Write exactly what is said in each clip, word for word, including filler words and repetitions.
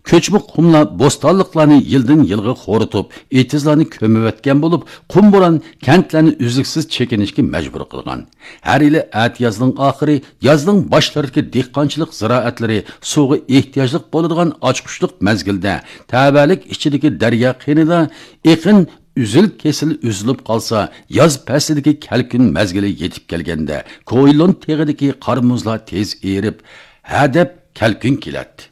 كۆچمە قۇملار بوستانلىقلارنى يىلدىن يىلغا خورىتىپ، ئېتىزلارنى كۆمۈۋەتكەن بولۇپ، قۇم بوران كەنتلەرنى ئۈزلۈكسىز چېكىنىشكە مەجبۇر قىلغان. ھەر يىلى ئەتىيازنىڭ ئاخىرى، يازنىڭ باشلىرىدىكى دېھقانچىلىق زىرائەتلىرى سۇغا ئېھتىياجلىق بولىدىغان ئاچقۇچلۇق مەزگىلدە، تەۋەلىك ئىچىدىكى دەريا قېنىدا ئېقىن ئۈزۈل-كېسىل ئۈزۈلۈپ قالسا، ياز پەسلىدىكى كەلكۈن مەزگىلى يېتىپ كەلگەندە، كويلون تېغىدىكى قار-مۇزلار تېز ئېرىپ، ھەدەپ كەلكۈن كېلەتتى.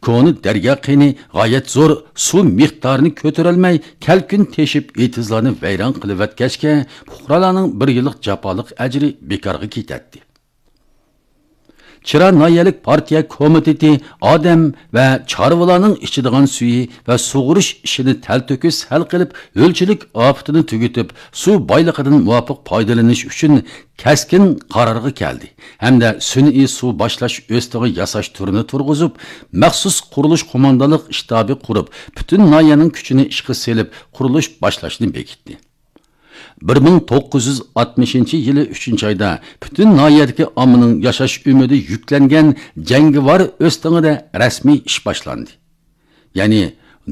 كونا دەريا قېنى غايەت زور سۇ مىقدارىنى كۆتۈرەلمەي، كەلكۈن تېشىپ، ئېتىزلارنى ۋەيران قىلىۋەتكەچكە، پۇقرالارنىڭ بىر يىللىق جاپالىق ئەجرى بىكارغا كېتەتتى. چىرا ناھىيەلىك پارتىيە كومىتېتى ئادەم ۋە چارۋىلارنىڭ ئىچىدىغان سۈيى ۋە سۇغۇرۇش ئىشىنى تەلتۆكۈس ھەل قىلىپ، ھۆلچىلىك ئاپىتىنى تۈگىتىپ، سۇ بايلىقىدىن مۇۋاپىق پايدىلىنىش ئۈچۈن كەسكىن قارارغا كەلدى ھەمدە سۈنئىي سۇ باشلاش ئۆستىڭى ياساش تۈرىنى تۇرغۇزۇپ، مەخسۇس قۇرۇلۇش قوماندانلىق شتابى قۇرۇپ، پۈتۈن ناھىيەنىڭ كۈچىنى ئىشقا سېلىپ، قۇرۇلۇش باشلاشنى بېكىتتى. بىر مىڭ توققۇز يۈز ئاتمىشىنچى يىلى ئۈچىنچى ئايدا پۈتۈن ناھىيەدىكى ئاممىنىڭ ياشاش ئۈمىدى يۈكلەنگەن جەڭگىۋار ئۆستىڭىدە رەسمىي ئىش باشلاندى. يەنى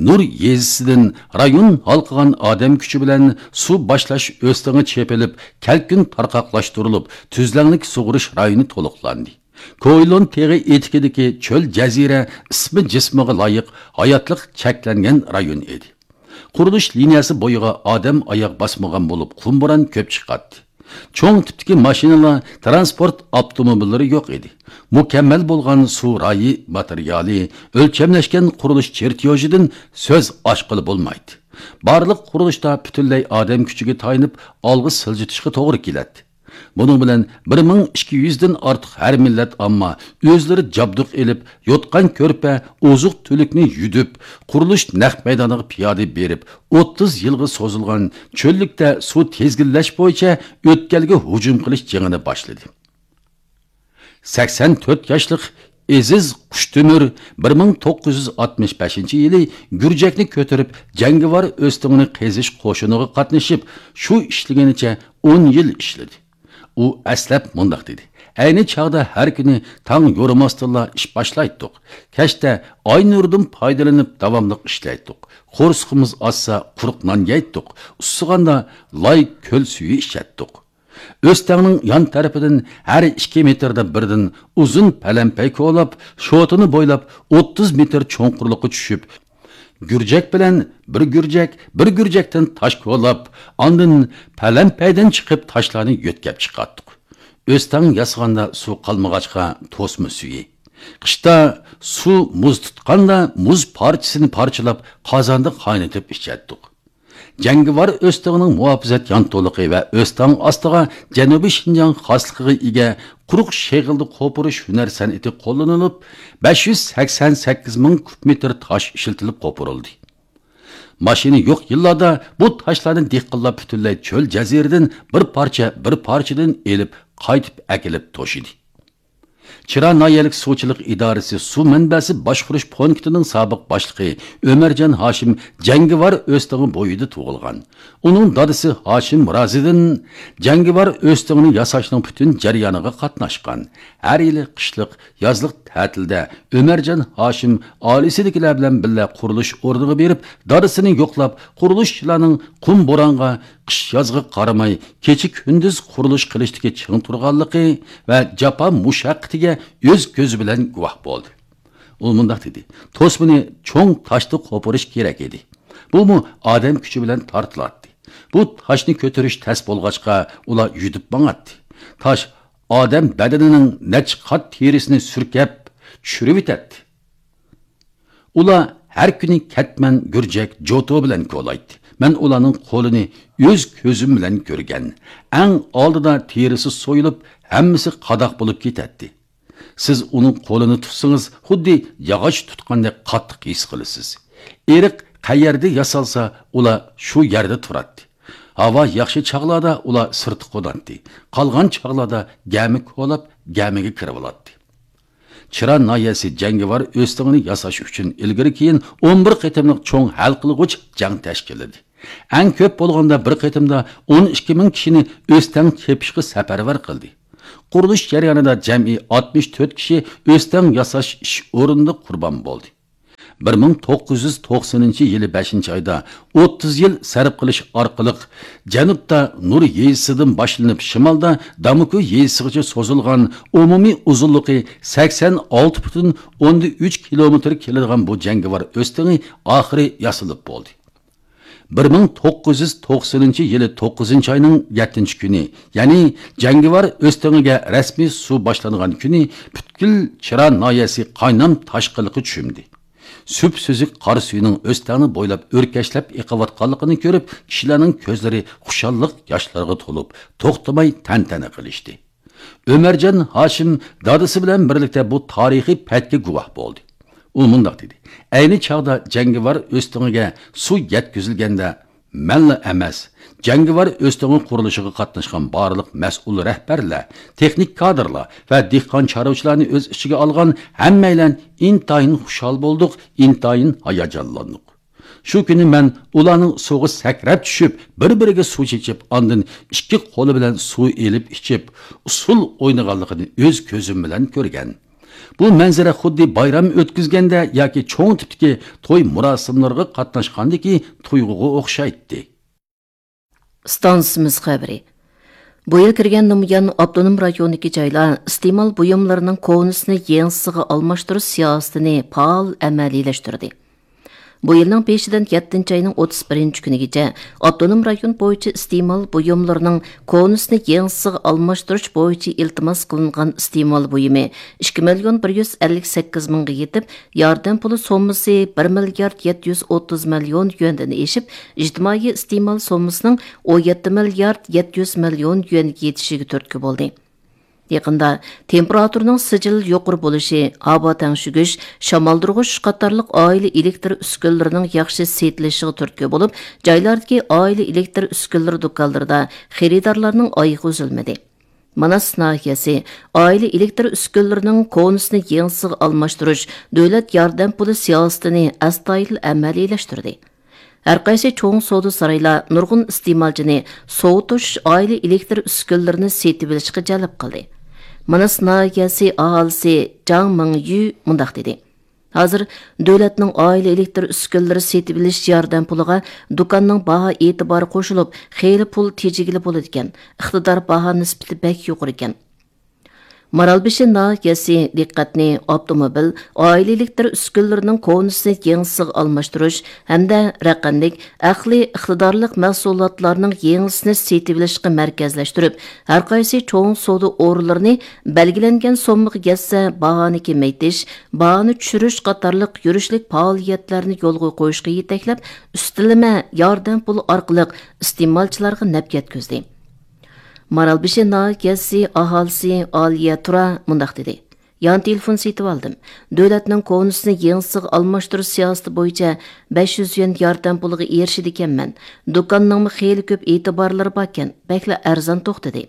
نۇر يېزىسىدىن رايون ھالقىغان ئادەم كۈچى بىلەن سۇ باشلاش ئۆستىڭى چېپىلىپ، كەلكۈن تارقاقلاشتۇرۇلۇپ، تۈزلەڭلىك سۇغۇرۇش رايونى تولۇقلاندى. كويلون تېغى ئېتىكىدىكى چۆل جەزىرە ئىسمى جىسمىغا لايىق ھاياتلىق چەكلەنگەن رايون ئىدى. قۇرۇلۇش لىنىيەسى بويىغا ئادەم ئاياغ باسمىغان بولۇپ، قۇم بوران كۆپ چىقاتتى. چوڭ تىپتىكى ماشىنىلار تىرانسپورت ئاپتوموبىللىرى يوق ئىدى. مۇكەممەل بولغان سۇ رايى ماتېرىيالى، ئۆلچەملەشكەن قۇرۇلۇش چېرتيوژىدىن سۆز ئاچقىلى بولمايتتى. بارلىق قۇرۇلۇشتا پۈتۈنلەي ئادەم كۈچىگە تايىنىپ ئالغا سىلجىتىشقا توغرا كېلەتتى. بۇنىڭ بىلەن بىر مىڭ ئىككى يۈزدىن ئارتۇق ھەر مىللەت ئامما ئۆزلىرى جابدۇق ئېلىپ، يوتقان-كۆرپە، ئوزۇق-تۈلۈكنى يۈدۈپ، قۇرۇلۇش نەق مەيدانىغا پىيادە بېرىپ، ئوتتۇز يىلغا سوزۇلغان چۆللۈكتە سۇ تىزگىنلەش بويىچە ئۆتكەلگە ھۇجۇم قىلىش جېڭىنى باشلىدى. سەكسەن تۆت ياشلىق ئېزىز قۇشتۆمۈر بىر مىڭ توققۇز يۈز ئاتمىش بەشىنچى يىلى گۈرجەكنى كۆتۈرۈپ، جەڭگىۋار ئۆستىڭىنى قېزىش قوشۇنىغا قاتنىشىپ، شۇ ئىشلىگىنىچە ئون يىل ئىشلىدى. ئۇ ئەسلەپ مۇنداق دېدى: «ئەينى چاغدا ھەر كۈنى تاڭ يورۇماستىنلا ئىش باشلايتتۇق. كەچتە ئاي نۇرىدىن پايدىلىنىپ داۋاملىق ئىشلەيتتۇق. قورسىقىمىز ئاچسا، قۇرۇق نان يەيتتۇق. ئۇسسىغاندا لاي كۆل سۈيى ئىچەتتۇق.» ئۆستەڭنىڭ يان تەرىپىدىن ھەر ئىككى مېتىردا بىردىن ئۇزۇن پەلەمپەي كولاپ، شوتىنى بويلاپ ئوتتۇز مېتىر چوڭقۇرلۇققا چۈشۈپ، گۈرجەك بىلەن بىر گۈرجەك، بىر گۈرجەكتىن تاش كولاپ، ئاندىن پەلەمپەيدىن چىقىپ تاشلارنى يۆتكەپ چىقاتتۇق. ئۆستەڭ ياسىغاندا سۇ قالمىغاچقا توسما سۈيى. قىشتا سۇ مۇز تۇتقاندا مۇز پارچىسىنى پارچىلاپ قازاندا قاينىتىپ ئىچەتتۇق. جەڭگىۋار ئۆستىڭىنىڭ مۇھاپىزەت يانتۇلۇقى ۋە ئۆستەڭ ئاستىغا جەنۇبىي شىنجاڭ خاسلىقىغا ئىگە قۇرۇق شېغىلدا قوپۇرۇش ھۈنەر سەنئىتى قوللىنىلىپ، بەش يۈز سەكسەن سەككىز مىڭ كۇب مېتىر تاش ئىشلىتىلىپ قوپۇرۇلدى. ماشىنا يوق يىللاردا بۇ تاشلارنى دېھقانلار پۈتۈنلەي چۆل جەزىرىدىن بىر پارچە، بىر پارچىدىن ئېلىپ، قايتىپ ئەكېلىپ توشىدى. چىرا ناھىيەلىك سۇچىلىق ئىدارىسى سۇ مەنبەسى باشقۇرۇش پونكىتىنىڭ سابىق باشلىقى ئۆمەرجان ھاشىم جەڭگىۋار ئۆستىڭى بويىدا تۇغۇلغان. ئۇنىڭ دادىسى ھاشىم رازىدىن جەڭگىۋار ئۆستىڭىنى ياساشنىڭ پۈتۈن جەريانىغا قاتناشقان. ھەر يىلى قىشلىق، يازلىق تەتىلدە ئۆمەرجان ھاشىم ئائىلىسىدىكىلەر بىلەن بىللە قۇرۇلۇش ئورنىغا بېرىپ، دادىسىنى يوقلاپ، قۇرۇلۇشچىلارنىڭ قۇم بورانغا، قىش يازغا قارىماي، كېچە كۈندۈز قۇرۇلۇش قىلىشتىكى چىڭ تۇرغانلىقى ۋە جاپا مۇشەققىتىگە ئۆز كۆزى بىلەن گۇۋاھ بولدى. ئۇ مۇنداق دېدى: «توسمىنى چوڭ تاشتا قوپۇرۇش كېرەك ئىدى. بۇمۇ ئادەم كۈچى بىلەن تارتىلاتتى. بۇ تاشنى كۆتۈرۈش تەس بولغاچقا، ئۇلار يۈدۈپ ماڭاتتى. تاش ئادەم بەدىنىنىڭ نەچچە قات تېرىسىنى سۈركەپ چۈشۈرۈۋېتەتتى.» ئۇلار ھەر كۈنى كەتمەن، گۈرجەك، جوتۇ بىلەن كولايتتى. مەن ئۇلارنىڭ قولىنى ئۆز كۆزۈم بىلەن كۆرگەن. ئەڭ ئالدىدا تېرىسى سويۇلۇپ، ھەممىسى قاداق بولۇپ كېتەتتى. سىز ئۇنىڭ قولىنى تۇتسىڭىز، خۇددى ياغاچ تۇتقاندەك قاتتىق ھېس قىلىسىز. ئېرىق قەيەردە ياسالسا، ئۇلار شۇ يەردە تۇراتتى. ھاۋا ياخشى چاغلاردا ئۇلار سىرتتا قوناتتى. قالغان چاغلاردا گەمە كولاپ، گەمىگە كىرىۋالاتتى. چىرا ناھىيەسى جەڭگىۋار ئۆستىڭىنى ياساش ئۈچۈن ئىلگىرى-كېيىن ئون بىر قېتىملىق چوڭ ھەل قىلغۇچ جەڭ تەشكىللىدى. ئەڭ كۆپ بولغاندا بىر قېتىمدا ئون ئىككى مىڭ كىشىنى ئۆستەڭ چېپىشقا سەپەرۋەر قىلدى. قۇرۇلۇش جەريانىدا جەمئىي ئاتمىش تۆت كىشى ئۆستەڭ ياساش ئىش ئورنىدا قۇربان بولدى. بىر مىڭ توققۇز يۈز توقسىنىنچى يىلى بەشىنچى ئايدا ئوتتۇز يىل سەرپ قىلىش ئارقىلىق، جەنۇبتا نۇر يېزىسىدىن باشلىنىپ، شىمالدا دامۇكۇ يېزىسىغىچە سوزۇلغان، ئومۇمىي ئۇزۇنلۇقى سەكسەن ئالتە پۈتۈن ئوندىن ئۈچ كىلومېتىر كېلىدىغان بۇ جەڭگىۋار ئۆستىڭى ئاخىرى ياسىلىپ بولدى. بىر مىڭ توققۇز يۈز توقسىنىنچى يىلى توققۇزىنچى ئاينىڭ يەتتىنچى كۈنى، يەنى جەڭگىۋار ئۆستىڭىگە رەسمىي سۇ باشلانغان كۈنى، پۈتكۈل چىرا ناھىيەسى قاينام تاشقىنلىققا چۆمدى. سۈپسۈزۈك قارا سۈيىنىڭ ئۆستەڭنى بويلاپ ئۆركەشلەپ ئېقىۋاتقانلىقىنى كۆرۈپ، كىشىلەرنىڭ كۆزلىرى خۇشاللىق ياشلىرىغا تولۇپ، توختىماي تەنتەنە قىلىشتى. ئۆمەرجان ھاشىم دادىسى بىلەن بىرلىكتە بۇ تارىخىي پەتكە گۇۋاھ بولدى. ئۇ مۇنداق دېدى: «ئەينى چاغدا جەڭگىۋار ئۆستىڭىگە سۇ يەتكۈزۈلگەندە، مەنلا ئەمەس، جەڭگىۋار ئۆستىڭى قۇرۇلۇشىغا قاتناشقان بارلىق مەسئۇل رەھبەرلەر، تېخنىك كادىرلار ۋە دېھقان چارۋىچىلارنى ئۆز ئىچىگە ئالغان ھەممەيلەن ئىنتايىن خۇشال بولدۇق، ئىنتايىن ھاياجانلاندۇق. شۇ كۈنى مەن ئۇلارنىڭ سۇغا سەكرەپ چۈشۈپ، بىر-بىرىگە سۇ چېچىپ، ئاندىن ئىككى قولى بىلەن سۇ ئېلىپ ئىچىپ، ئۇسسۇل ئوينىغانلىقىنى ئۆز كۆزۈم بىلەن كۆرگەن. بۇ مەنزىرە خۇددى بايرام ئۆتكۈزگەندە ياكى چوڭ تىپتىكى توي مۇراسىملىرىغا قاتناشقاندىكى تۇيغۇغا ئوخشايتتى.» ئىستانسىمىز خەۋىرى. بۇ يىل كىرگەندىن بۇيان، ئاپتونوم رايوندىكى جايلار ئىستېمال بۇيۇملىرىنىڭ كونىسىنى يېڭىسىغا ئالماشتۇرۇش سىياسىتىنى پائال ئەمەلىيلەشتۈردى. بۇ يىلنىڭ بېشىدىن يەتتىنچى ئاينىڭ ئوتتۇز بىرىنچى كۈنىگىچە ئاپتونوم رايون بويىچە ئىستېمال بۇيۇملىرىنىڭ كونىسىنى يېڭىسىغا ئالماشتۇرۇش بويىچە ئىلتىماس قىلىنغان ئىستېمال بۇيۇمى ئىككى مىليون بىر يۈز ئەللىك سەككىز مىڭغا يېتىپ، ياردەم پۇلى سوممىسى بىر مىليارد يەتتە يۈز ئوتتۇز مىليون يۈەندىن ئېشىپ، ئىجتىمائىي ئىستېمال سوممىسىنىڭ ئون يەتتە مىليارد يەتتە يۈز مىليون يۈەنگە يېتىشىگە تۈرتكە بولدى. يېقىندا تېمپېراتۇرىنىڭ سىجىل يۇقىرى بولۇشى، ھاۋا تەڭشىگۈچ، شامالدۇرغۇچ قاتارلىق ئائىلە ئېلېكتر ئۈسكۈنىلىرىنىڭ ياخشى سېتىلىشىغا تۈرتكە بولۇپ، جايلاردىكى ئائىلە ئېلېكتر ئۈسكۈنىلىرى دۇكانلىرىدا خېرىدارلارنىڭ ئايىغى ئۈزۈلمىدى. ماناس ناھىيەسى ئائىلە ئېلېكتر ئۈسكۈنىلىرىنىڭ كونىسىنى يېڭىسىغا ئالماشتۇرۇش دۆلەت ياردەم پۇلى سىياسىتىنى ئەستايىدىل ئەمەلىيلەشتۈردى. ھەرقايسى چوڭ سودا سارايلار نۇرغۇن ئىستېمالچىنى سوۋۇتۇش ئائىلە ئېلېكتر ئۈسكۈنىلىرىنى سېتىۋېلىشقا جەلپ قىلدى. ماناس ناھىيەسى ئاھالىسى جاڭ مىڭيۈ مۇنداق دېدى: «ھازىر دۆلەتنىڭ ئائىلە ئېلېكتر ئۈسكۈنىلىرى سېتىۋېلىش ياردەم پۇلىغا دۇكاننىڭ باھا ئېتىبارى قوشۇلۇپ، خېلى پۇل تېجىگىلى بولىدىكەن، ئىقتىدار باھا نىسبىتى بەك يۇقىرىكەن.» مارالبېشى ناھىيەسى دىققەتنى ئاپتوموبىل، ئائىلە ئېلېكتر ئۈسكۈنىلىرىنىڭ كونىسىنى يېڭىسىغا ئالماشتۇرۇش ھەمدە رەقەملىك، ئەقلىي ئىقتىدارلىق مەھسۇلاتلارنىڭ يېڭىسىنى سېتىۋېلىشقا مەركەزلەشتۈرۈپ، ھەرقايسى چوڭ سودا ئورۇنلىرىنى بەلگىلەنگەن سوممىغا يەتسە، باھانى كېمەيتىش، باھانى چۈشۈرۈش قاتارلىق يۈرۈشلۈك پائالىيەتلەرنى يولغا قويۇشقا يېتەكلەپ، ئۈستىلىمە ياردەم پۇلى ئارقىلىق ئىستېمالچىلارغا نەپ يەتكۈزدى. مارالبېشى ناھىيەسى ئاھالىسى ئالىيە تۇرا مۇنداق دېدى: «يان تېلېفون سېتىۋالدىم. دۆلەتنىڭ كونىسىنى يېڭىسىغا ئالماشتۇرۇش سىياسىتى بويىچە بەش يۈز يۈەن ياردەم پۇلىغا ئېرىشىدىكەنمەن. دۇكاننىڭمۇ خېلى كۆپ ئېتىبارلىرى باركەن، بەكلا ئەرزان توختىدى.»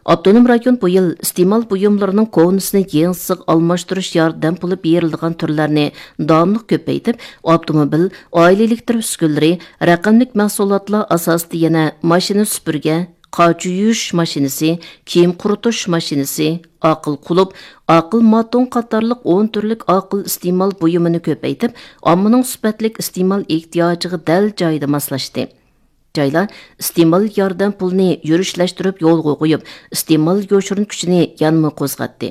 ئاپتونوم رايون بۇ يىل ئىستېمال بۇيۇملىرىنىڭ كونىسىنى يېڭىسىغا ئالماشتۇرۇش ياردەم پۇلى بېرىلىدىغان تۈرلەرنى داۋاملىق كۆپەيتىپ، ئاپتوموبىل، ئائىلە ئېلېكتر ئۈسكۈنىلىرى، رەقەملىك مەھسۇلاتلار ئاساسىدا يەنە ماشىنا سۈپۈرگە، قاچا يۇيۇش ماشىنىسى، كىيىم قۇرۇتۇش ماشىنىسى، ئاقىل قۇلۇپ، ئاقىل ماتوڭ قاتارلىق ئون تۈرلۈك ئاقىل ئىستېمال بۇيۇمىنى كۆپەيتىپ، ئاممىنىڭ سۈپەتلىك ئىستېمال ئېھتىياجىغا دەل جايىدا ماسلاشتى. جايلار ئىستېمال ياردەم پۇلىنى يۈرۈشلەشتۈرۈپ يولغا قويۇپ، ئىستېمال يوشۇرۇن كۈچىنى يەنىمۇ قوزغاتتى.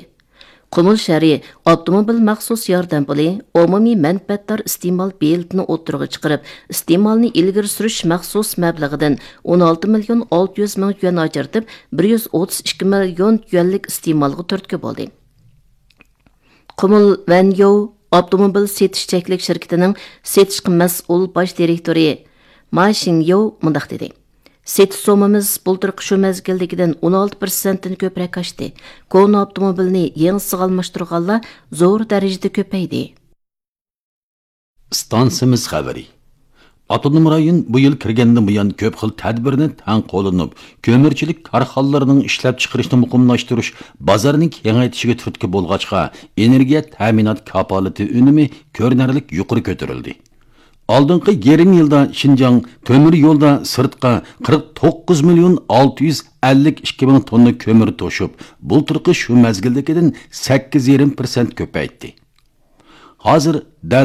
قۇمۇل شەھىرى ئاپتوموبىل مەخسۇس ياردەم پۇلى، ئومۇمىي مەنپەئەتدار ئىستېمال بېلىتىنى ئوتتۇرىغا چىقىرىپ، ئىستېمالنى ئىلگىرى سۈرۈش مەخسۇس مەبلىغىدىن ئون ئالتە مىليون ئالتە يۈز مىڭ يۈەن ئاجرىتىپ، بىر يۈز ئوتتۇز ئىككى مىليون يۈەنلىك ئىستېمالغا تۈرتكە بولدى. قۇمۇل ۋەنيوۋ ئاپتوموبىل سېتىش چەكلىك شىركىتىنىڭ سېتىشقا مەسئۇل باش دىرېكتورى ما شىڭيوۋ مۇنداق دېدى: «سېتىش سوممىمىز بۇلتۇرقى شۇ مەزگىلدىكىدىن ئون ئالتە پىرسەنتتىن كۆپرەك ئاشتى. كونا ئاپتوموبىلنى يېڭىسىغا ئالماشتۇرغانلار زور دەرىجىدە كۆپەيدى.» ئىستانسىمىز خەۋىرى. ئاپتونوم رايون بۇ يىل كىرگەندىن بۇيان كۆپ خىل تەدبىرنى تەڭ قوللىنىپ، كۆمۈرچىلىك كارخانىلىرىنىڭ ئىشلەپچىقىرىشىنى مۇقىملاشتۇرۇش، بازارنى كېڭەيتىشىگە تۈرتكە بولغاچقا، ئېنېرگىيە تەمىنات كاپالىتى ئۈنۈمى كۆرۈنەرلىك يۇقىرى كۆتۈرۈلدى. ئالدىنقى يېرىم يىلدا شىنجاڭ تۆمۈر يولدا سىرتقا قىرىق توققۇز مىليون ئالتە يۈز ئەللىك ئىككى مىڭ توننا كۆمۈر توشۇپ، بۇلتۇرقى شۇ مەزگىلدىكىدىن سەككىز يېرىم پىرسەنت كۆپەيتتى. ھازىر دەل